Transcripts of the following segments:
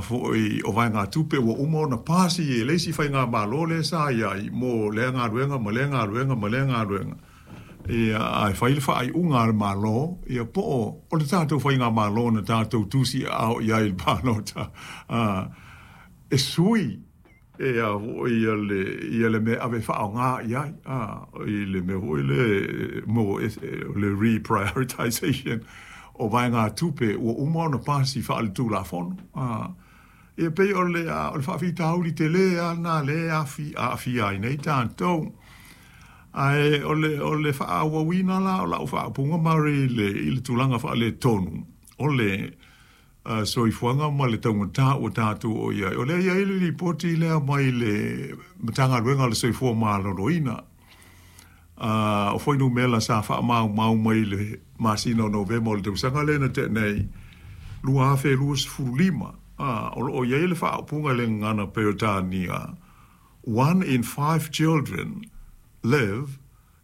foi o vaegatupe ua uma ona pasi e le isi faigamalo lea sa i ai mo lea galuega ma lea galuega ma lea galuega. Ia, ae fai le faaiuga a le Malo, ia po o o le tatou faigamalo na tatou tusiaao i ai i le palota, a, e sui e a foi ia le ia le mea e ave e faaaoga i ai, a, i le mea foi lea mo le reprioritization o vaegatupe ua uma ona pasi faale-tulafono. A, ia pei o le o le faafitauli tele lava lena lea e aafia ai nei tatou. Ae o le o le faaauauina la o lau faaupuga Murray i le i le tulaga faaletonu o le soifuaga ma le taugata ua tatou oo i ai, o lea e i ai le lipoti lea mai le Matagaluega o le Soifua Maloloina, o fuainumera sa faamaumau mai i le masina o Novema o le tausaga lea na tea nei, 2025, o lo o i ai le faaupuga i le gagana Peretania, One in five children live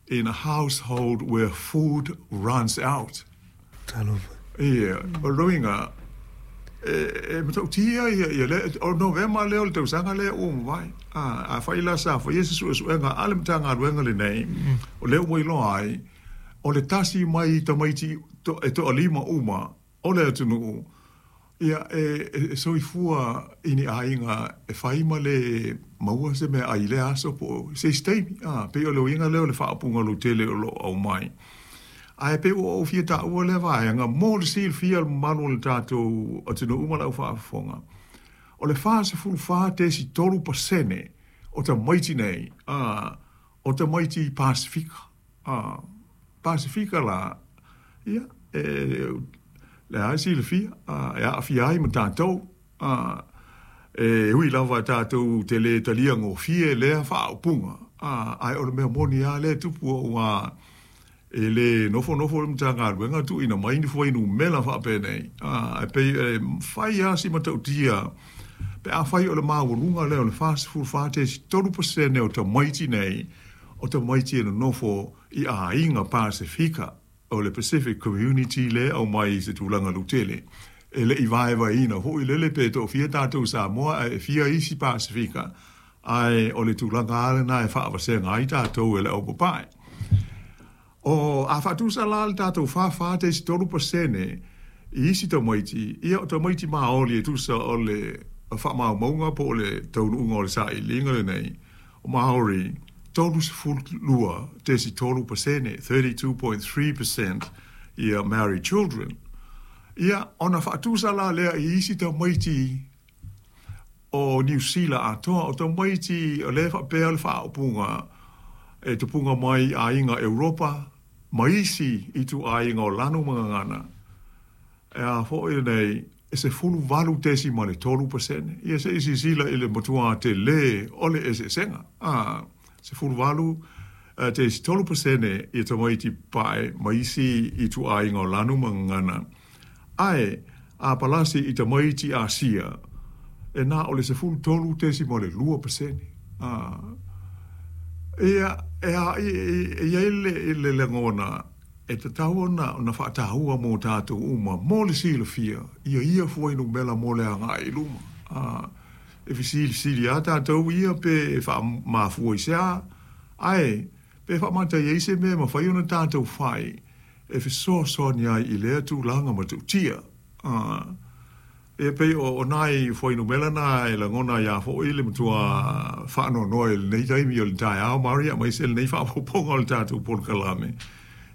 in a household where food runs out. Talofa. Ia, o le uiga, e matautia ia, ia le, o Novema lea o le tausaga lea ua mavae. A, afai la sa faia se suesuega a le Matagaluega lenei, o lea ua iloa ai, o le tasi mai tamaiti to, e toalima uma o le atunuu, ia, e soifua i ni aiga e fai ma le maua se meaai i lea aso po o se isi taimi. A, pei o le uiga lea o le faaupuga lautele o lo o aumai. Ae pei ua ou fia taua lea vaega mo le silafia e le mamalu o le tatou atunuu ma le aufaafofoga, o le 44.3% o tamaiti nei, a, o tamaiti Pasefika. A, Pasefika la, ia, e, lea lava e silafia, a, e aafia ai ma tatou. A, e ui lava tatou te le talia gofie lea faaupuga, a, ae o le mea moni lava lea e tupu aua e le nofonofo le Matagaluega tuuina mai ni fuainumera faapenei, a, ae pei e fai lava si matautia pe afai o le maualuga lea o le 44.3% o tamaiti nei, o tamaiti e nonofo i aiga Pasefika, o le Pacific Community lea e aumai i se tulaga lautele. E le i vaevaeina foi lele pe toafia tatou Samoa ae fia isi Pasefika, ae o le tulaga lava lena e faavasega ai tatou e le aupapae. O, a faatusa la le tatou 44.3% i isi tamaiti, ia o tamaiti Maori e tusa o le faamaumauga po o le taunuuga o le sailiiliga lenei, o Maori, 32.3%, 32.3% ia Maori children. Ia, ona faatusa la lea i isi tamaiti o Niu Sila atoa, o tamaiti o lea e faapea le faaupuga e tupuga mai i aiga Europa ma isi ituaiga o lanu ma gagana, e a foi lenei, e 18.3%. Ia se i silasila i le matua tele o le eseesega. A, 18.3% ia tamaiti pae ma isi ituaiga o lanu ma gagana. Ae, a palasi i tamaiti Asia, e na o le 13.2%. A, ia, e a, e i ai le, le lagona, e tatau ona ona faataua mo tatou uma, mo le silafia, ia ia fuainumera mo le agai i luma. A, e fesilisili lava tatou ia pe e faamafua i se a, ae pe faamata i ai se mea e mafai ona tatou fai e fesoasoani ai i lea tulaga matautia. A, e pei o nai fuainumera na e lagona ai lava foi le matua faanoanoa i lenei taimi o le taeao, Maria, aemaise lenei faaopoopoga o le tatou polokalame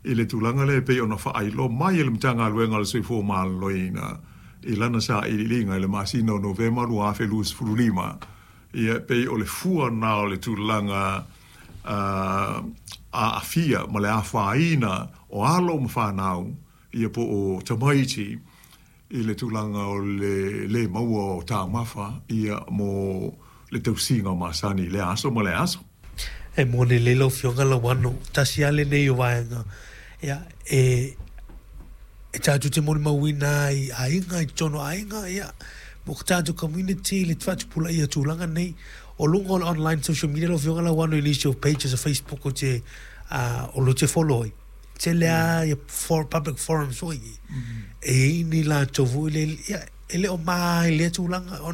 i le tulaga lea e pei ona faailoa mai e le Matagaluega o le Soifua Maloloina i lana sailiiliga i le masina o Novema 2025. Ia, e pei o le fua lena o le tulaga aafia ma le afaina o alo ma fanau, ia po o tamaiti i le tulaga o le lē maua o taumafa ia mo le tausiga masani i lea aso ma lea aso. E moni lelei lau Afioga Lauano, tasi lava lenei o vaega ia, e e tatou te molimauina ai i aiga, i totonu o aiga, ia, mo ko tatou community le faatupulaia o tulaga nei. O luga o le online social media lau Afioga Lauano i nisi o pages o Facebook ou te, o lo te follow ai, tele lava ia for, public forums foi e i ai ni latou foi lele, ia, e le o ma i lea tulaga ona.